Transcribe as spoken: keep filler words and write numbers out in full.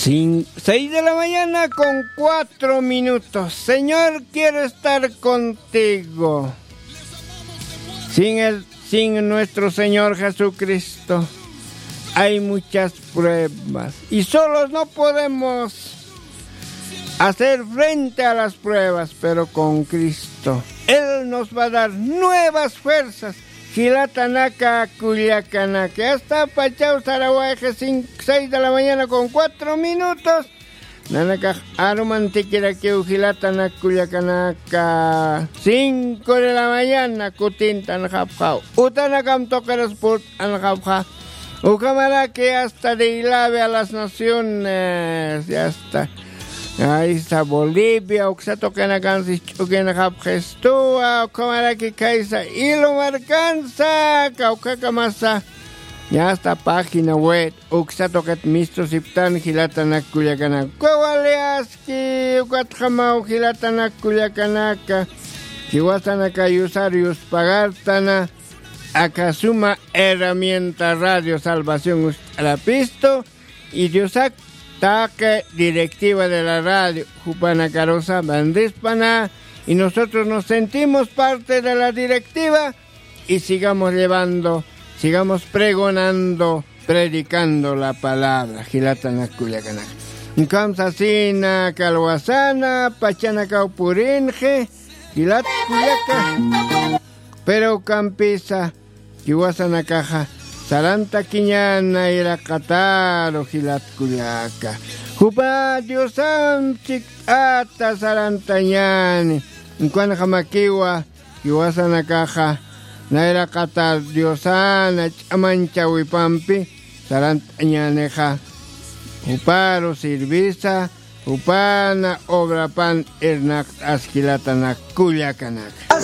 Cin- seis de la mañana con cuatro minutos. Señor quiere estar contigo. Sin el, sin nuestro Señor Jesucristo hay muchas pruebas y solos no podemos hacer frente a las pruebas, pero con Cristo Él nos va a dar nuevas fuerzas. Jilatanaka, kullakanaka, hasta pachaw sarawayxi, cinco, seis de la mañana con cuatro minutos. Nanakax arumantikirakiw, jilatanak kullakanaka. Cinco de la mañana kutintanxapxaw. Utanakam tuqiras purt'anxapxa. Ukhamaraki hasta de Ilave a las Naciones, ya está. Ahí está Bolivia, uksa tuqinakansi ch'ukinxapxistuwa, ukhamaraki khaysa Ilu markansa, kawkhakamasa. Ya está, página web. Uksa tuqit mistusiptan, jilatanak kullakanaka. Uka wali aski, ukatjamaw jilatanak kullakanaka. Jiwasanaka yusar yuspagartana. Aka suma herramienta Radio Salvación uñt'arapistu. Y Diosak taqi directiva de la radio, jupanakarusa bendispana. Y nosotros nos sentimos parte de la directiva. Y sigamos llevando, sigamos pregonando, predicando la palabra. Jilatanak kullakanaka. Ukham sasina, kalwasana, pachanakaw purinxi, jilat kullaka. Pero ukampisa, jiwasanakaxa sarantakiñäni nayraqataru, jilat kullaka. Jupa Diosamp chikt'ata sarantañäni. Ukanxamakiwa, jiwasanakaxa nayraqatar Diosana ch'amanchawipampi sarant'añänixa, juparu sirvisa, jupana obrapan irnaqt'as, jilatanak kullakanaka.